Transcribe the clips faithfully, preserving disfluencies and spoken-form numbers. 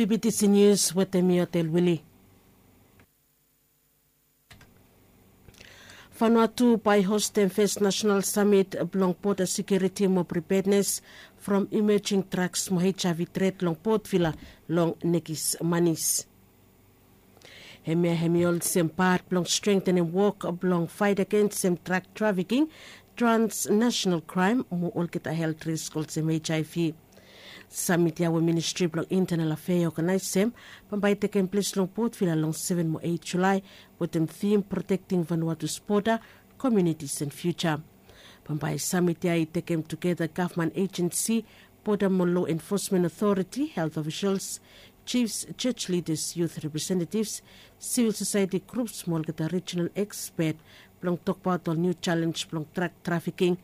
B B T C News wetem mi Otel Willie. Vanuatu bae hostem fes nasenal samit blong boda sekiuriti mo pripednes from imejing draks mo HIV tret long Port Vila long nekis manis. Hemia hemi olsem pat blong strengtenem wok blong faet agensem drak trafiking, transnasenal kraem mo olgeta helt risk olsem HIV. Samit ya we Ministri blong Intenal Afea i oganaesem bambae i tekem ples long Port Vila long seven mo eit Julae wetem tim Protecting Vanuatu's Border, Communities and Future. Bambae samit ya i tekem tugeta gavman ejensi, boda mo lo enfosmen otoriti, helt ofisels, jifs, joj lidas, yut representetivs, sivil sosaeti grups mo olgeta rijinal ekspet blong tokbaot ol niu jalenj blong drak trafiking,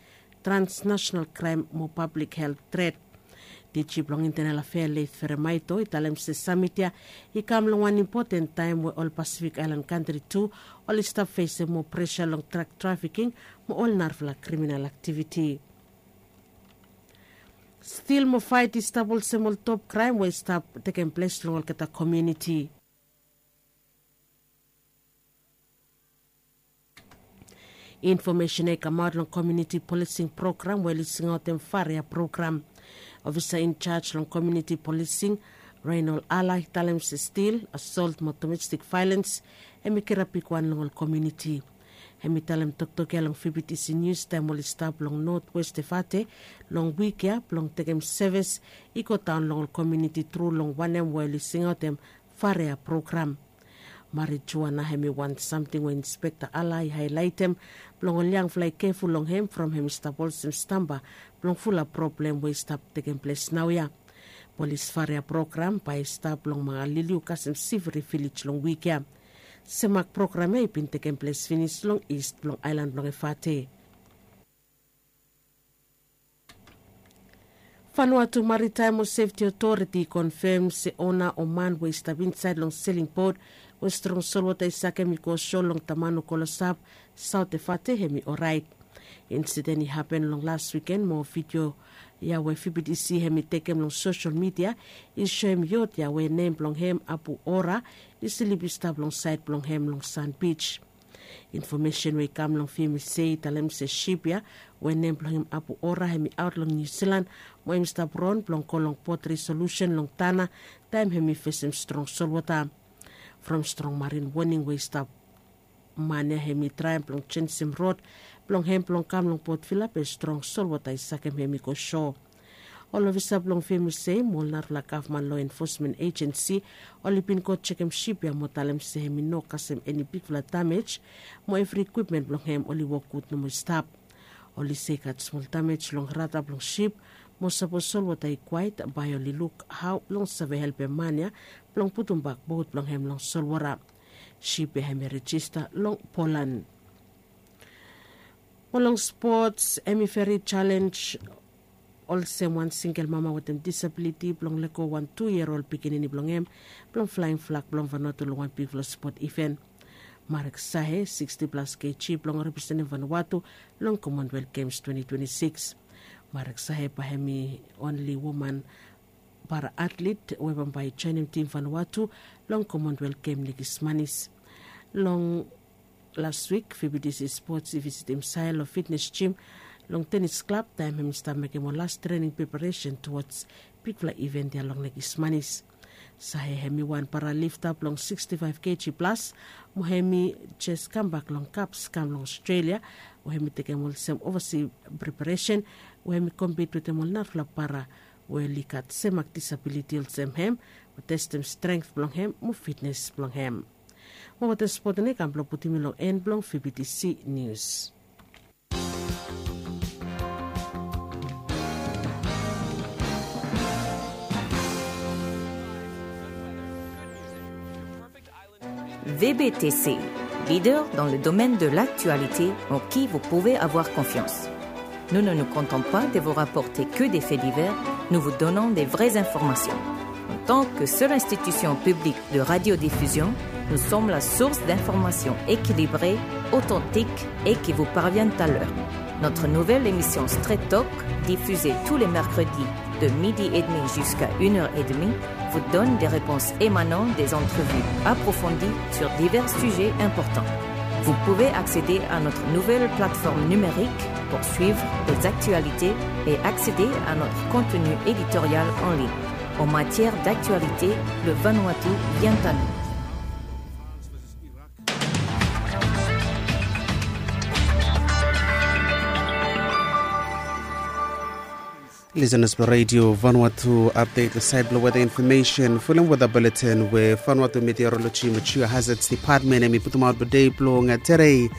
transnasenal kraem mo pablik helt tret. Diji blong Intenal Afea Leif Feremaito i talem se samit ya i kam long wan impoten taem we ol Pasifik Aelan kantri tu oli stap fesem moa presa long drak trafiking mo ol narafala kriminal aktiviti. Stil mo faet i stap olsem ol top kraem we i stap tekem ples long olgeta komuniti. Infomesen ya i kamaot long komuniti polising program we oli singaotem Faria program. Ofisa injaj long komuniti polising, Reinol Ala, i talem se stil, asolt mo domestik vaelens hemi kirap bigwan long ol komuniti. Hemi talem toktok ya long V B T C Nius taem oli stap long Notwest Efate long wik ya blong tekem sevis i godaon long ol komuniti tru long wanem we oli singaotem Faria program. Marijuana hemi wan samting we Inspekta Ala i haelaetem blong ol yangfala i keful long hem from hemi stap olsem stamba blong fulap problem we i stap tekem ples naoia. Polis Faria program bae i stap long Mangaliliu kasem Sivri vilej long wik ya. Semak program ya i bin tekem ples finis long ist blong aelan blong Efate. Vanuatu Maritaem mo Sefti Otoriti i konfem se ona o man we i stap insaed long seling bot we strong solwota i sakem i go so long Tamanu Kolosap, Saot Efate, hemi oraet. Insiden i hapen long las wiken mo vidio ya we V B T C hemi tekem long sosel midia i soem yot ya we nem blong hem Abu Ora i slip i stap long saed blong hem long San Bij. Infomesen we i kam long VMC i talem se sip ya we nem blong hem Abu Ora hemi aot long Niu Silan mo hemi stap ron blong go long bot Resolusen long Tana taem hemi fesem strong solwota. From strong marin woning we i stap, man ya hemi traem blong jenjem rod blong hem blong kam long Port Vila be strong solwota i sakem hem i go so. Ol ofisa blong VMC mo ol narafala gavman lo enfosmen ejensi oli bin go jekem sip ya mo talem se hemi no kasem eni bigfala damej mo evri ikwipmen blong hem oli wok gud nomo i stap. Oli se i gat smol damej long rada blong sip mo sapos solwota i kwaet bae oli luk hao blong save helpem man ya blong putumbak bot blong hem long solwota. Sip ya hemi rejista long Polan. Mo long spots, hemi veri jalenj olsem wan singel mama wetem disabiliti blong lego wan tu yia ol pikinini blong hem blong flaing flag blong Vanuatu long wan bigfala spot iven. Marek Sahe, siksti plas keji, blong representem Vanuatu long Commonwealth Games twenti twenti sikis. Marek Sahe bae hemi onli woman para atlet we bambae i joenem tim Vanuatu long Commonwealth Games Nikismanis. Long las wik, VBTC Sports i visitim Sahe long fitnes jim long tenis klab taem hem i stap mekem ol las trening preparesen tuwoj bigfala iven ya long Nikismanis. Sahe hemi wan paralifta blong siksti faef keji plas mo hemi jes kambak long kaps kam long Australia we hemi tekem olsem ovasi preparesen we hemi kompit wetem ol narafala para we oli gat semak disabiliti olsem hem mo testem strength blong hem mo fitnes blong hem. Mo wetem spot ya i kam blong putum yu long en blong VBTC Nius. VBTC, leader dans le domaine de l'actualité en qui vous pouvez avoir confiance. Nous ne nous contentons pas de vous rapporter que des faits divers, nous vous donnons des vraies informations. En tant que seule institution publique de radiodiffusion, nous sommes la source d'informations équilibrées, authentiques et qui vous parviennent à l'heure. Notre nouvelle émission Straight Talk, diffusée tous les mercredis de midi et demi jusqu'à une heure et demie, vous donne des réponses émanant des entrevues approfondies sur divers sujets importants. Vous pouvez accéder à notre nouvelle plateforme numérique pour suivre les actualités et accéder à notre contenu éditorial en ligne. En matière d'actualité, le Vanuatu vient à nous. Listeners blong Radio Vanuatu, update long sait blong weather information. Fulem weather bulletin we Vanuatu Meteorology mo Geohazards Department hemi putumaot blong dei blong tere.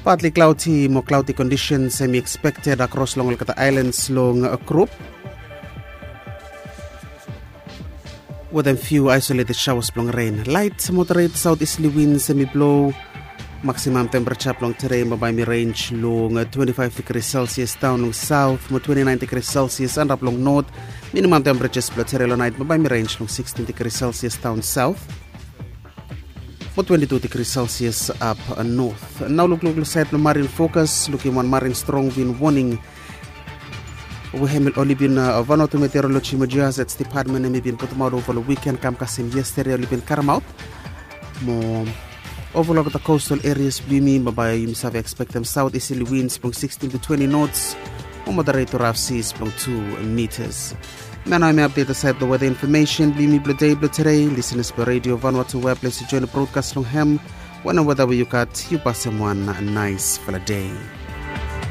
Partly cloudy mo cloudy conditions hemi expected across long olgeta islands long grup, wetem few isolated showers blong rain. Light moderate southeasterly winds hemi blo. Maximum temperature blong tere bambae hemi range long twenty-five degrees Celsius daon long south mo twenty-nine degrees Celsius antap long north. Minimum temperatures blong tere long nait bambae hemi range long sixteen degrees Celsius daon south mo twenty-two degrees Celsius ap north. Nao lukluk long sait blong marine forecast, lukim wan marine strong wind warning we hemi oli bin Vanuatu Meteorology mo Geohazards Department hemi bin putumaot ova long wiken kam kasem yestede oli bin karemaot. Mo ova long olgeta coastal areas blong yumi bambae yumi save expectem southeasterly winds blong sixteen to twenty knots mo moderate to rough seas blong two meters. Hemia nao hemi update long sait blong weather information blong yumi blong dei blong tere. Listeners blong Radio Vanuatu, we ples yu join long broadcast long hem. Wanem weather we yu gat, yu pasem wan naesfala dei.